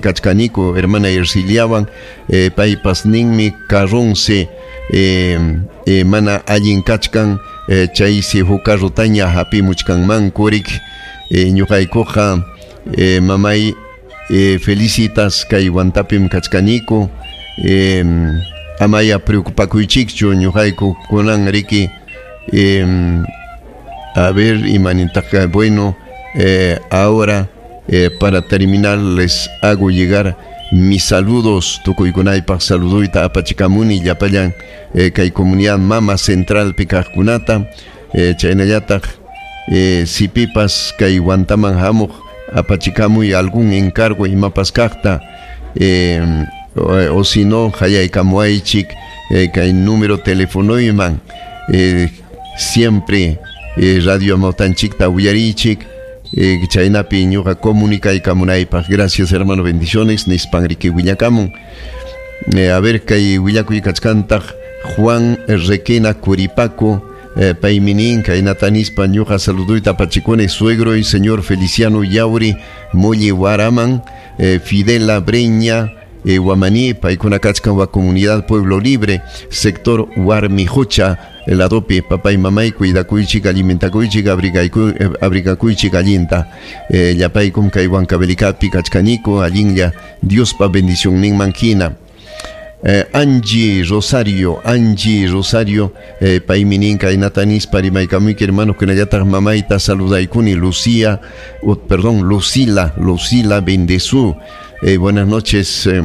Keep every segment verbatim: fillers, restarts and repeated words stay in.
Kachkaniku hermana Erciliawan, eh, paypas ninmi carronse eh, eh, mana allin kachkan, eh, chaysi huk carrotaña hapimuchkanmankurik. eh, ñuqaykuqa eh, mamay eh, felicitas kay Huantapim kachkaniku, eh, amaya preocupakuychikchu ñuqayku kunan riki, eh, a ver imanintaq, bueno, eh, ahora Eh, para terminar les hago llegar mis saludos tukuykunaypaq saluduyta apachikamuni llapallan eh, kay comunidad Mama Central kaqkunata, eh, chaynallataq eh, sipipas kay Huantaman hamuq apachikamuy algún encargo imapas kaqta, eh, o, o si no hayaykamuaychik eh, kay número telefonoyman, eh, siempre eh, Radio Amawtanchikta uyarichik, Eh, chaynapi ñuqa comunicaykamunaypaq. Gracias, hermano, bendiciones nispan riki willakamun. Eh, a ver kay willakuy kachkantaq Juan Requena Curipaco, eh, paymi nin kaynata nispa: ñuqa saluduyta apachikuni suegro y señor Feliciano Yauri Molli Waraman, eh, Fidela Breña eh, Guamaní, paykuna kachkan wa comunidad Pueblo Libre, sector Warmijocha, el adopi, papá y mamá y cuidakuychik, alimentakuychik, abrigakuychik allinta. Eh, llapaykum kay Huancavelicapi kachkaniku, allinlla Diospa bendición ninman hina. Eh, Angie Rosario, Angie Rosario, eh, paymi nin kaynata nispa rimaykamuyki hermano kunallataq mamayta saludaykuni Lucía, oh, perdón, Lucila, Lucila Bendezú. Eh, buenas noches, eh,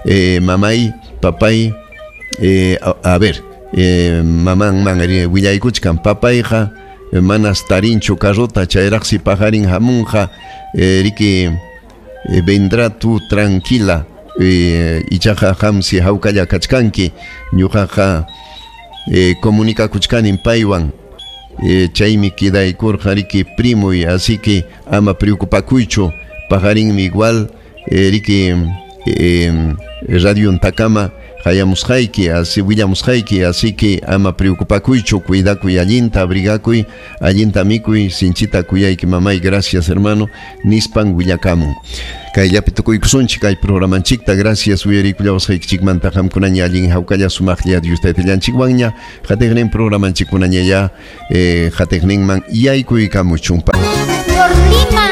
eh, mamay, papay, eh, a, a ver, eh, maman man willaykuchkan papayqa manas tarinchu carrota chayraqsi paqarin hamunqa, eh, riki eh, vendrá tú tranquila, eh, ichaqa qamsi hawkalla kachkanki ñuqaqa eh, comunicakuchkanin paywan, eh, chaymi quedaykurqa riki primoy, así que ama preocupakuychu paqarinmi igual, eh, riki eh, radio ntakama hayamusqayki, así willamusqayki, así que ama preocupakuychu, cuidakuy allinta, abrigakuy allinta, mikuy, sinchita kuyayki mamay, gracias, hermano nispan willakamun. Kayllapi tukuykusunchik kay programanchikta, gracias uyarikullawasqaykichikmanta, qamkunaña allin hawkalla sumaqlla Dios taytallanchikwanña qatiqnin programanchikkunaña ya eh, qatiqninman yaykuykamuchun. Por Lima.